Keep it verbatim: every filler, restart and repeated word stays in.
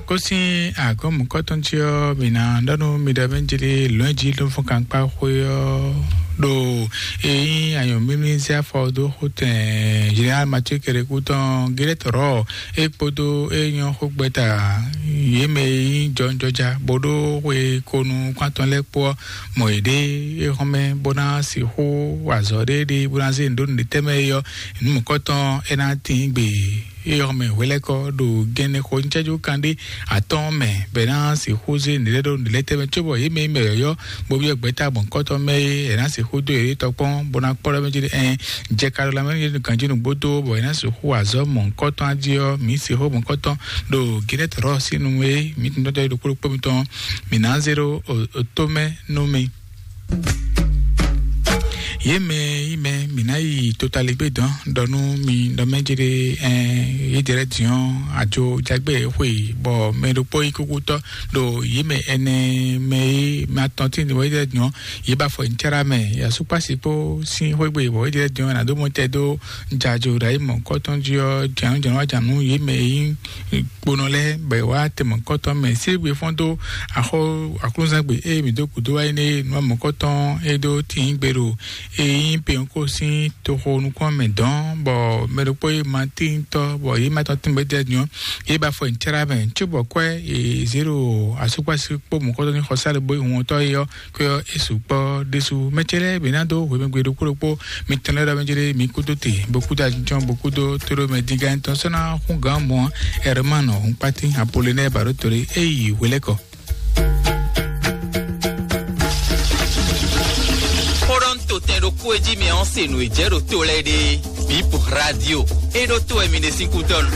Kó sín agɔ̌mukɔ́tɔn jí ɔ́, mǐ ná ɖɔ nú mi ɖɔ mɛ jlé lɔ̌nji ló fún kankpá xwé ɔ́ ɖo eyín anyɔ̌mímí zé afɔ dó xótɛn Général Mathieu Kérékou tɔn Gérèt Rɔ é kpódó é nyɔ́ xógbɛ́ta yě mɛ e nyí jɔnjɔja bó ɖó xwe konu kpántɔn lɛ́ɛ kpó ɔ́, mɔ yě ɖé é xɔ́mɛ bó ná sixú wa azɔ̌ ɖé ɖé bó ná zé nǔ ɖó nǔɖé tɛ́ mɛ é ɔ́, nǔ mɔ̌kɔ́tɔn é ná tín gbe. Eye xɔmɛ hwelɛ́kɔ ɖo gɛnɛ xo ncɛ́jú kanɖé atɔ́ɔ́n mɛ bɔ è nǎ sixú zé nǔɖé ɖó nǔɖé tɛ́ mɛ cóbɔ yě mɛ e mɛ yɔ̌yɔ́ bó byɔ́ gbɛ̌ta gbɔn kɔ́tɔn mɛ é è nǎ sixú dó yě tɔ́ kpɔ́n bó ná kpɔ́ ɖɔ mɛ jí ɖe ɛn jɛ ka ɖo lanmɛ nú ganjí nǔgbó dó bɔ è nǎ sixú azɔ̌ mɔ̌hunkɔtɔn jí ɔ́ mǐ sixú mɔ̌hunkɔtɔn ɖo gɛnɛ tɔ̌rɔ sín nu e mǐ tun tɔ́ ɖokpó ɖokpó mitɔn mǐ ná zé ɖó tó mɛ nú mi. Yě mɛ yí mɛ mǐ ná yi totaligbé dɔn ɖɔ nú mi ɖɔ mɛ jere ɛn yídɛrɛ diɔn ajo jagbe xwe bɔ mɛ ɖokpó yi kúkútɔ ɖo yě mɛ ɛnɛ mɛ yí mɛ atɔn tí ní wɔ yídɛrɛ diɔn yě ba fɔ ntsara mɛ yasukpasi kpó sín xwégbe bɔ yídɛrɛ diɔn nà dó mɔ tɛ dó jajo ɖo ayi mɔ kɔtɔn jí ɔ janu janu wa janu yě mɛ yí kponɔ lɛ́ɛ bɔ è wá tɛmɔkɔtɔ mɛ sígbe fɔ́n dó axɔ aklúzangbe eye mǐ dó gǔdo wá yi nɛ nu amɔkɔtɔn e dó tín gbe ɖo e nyí penyɔkɔ sín toxo nukún mɛ dɔn bɔ mɛ ɖokpó yi ma tíntɔ bɔ yě ma tɔn tín gbɛjɛ nyɔ yě ba fɔ ntsara mɛ tso bɔ kwɛ e zero asukpasi kpó mɔkɔtɔ ní xɔsá ɖe bó yi huntɔ yi ɔ kó yɔ é sukpɔ ɖésú mɛ ce lɛ́ɛ bǐ ná dó hwemɛgbe ɖokpó ɖokpó mi tɛn lɛ́ ɖɔ mɛ jere mi kúdó te bó kúdó ajínjɔn bó kúdó tóɖó mɛ dígá tɔn sɔ́ ná hún gǎn mɔ ɛrɛmánɔ hún kpátín apolinɛ bàɖó tóɖé é yi hwelɛ́kɔ. Kpɔɖɔn to tɛn ɖokpó e jí mi ɔ́ se nǔ e jɛ ɖo to lɛ́ɛ ɖe bip radio e ɖo to wɛ mi ɖe sín kúdɔn.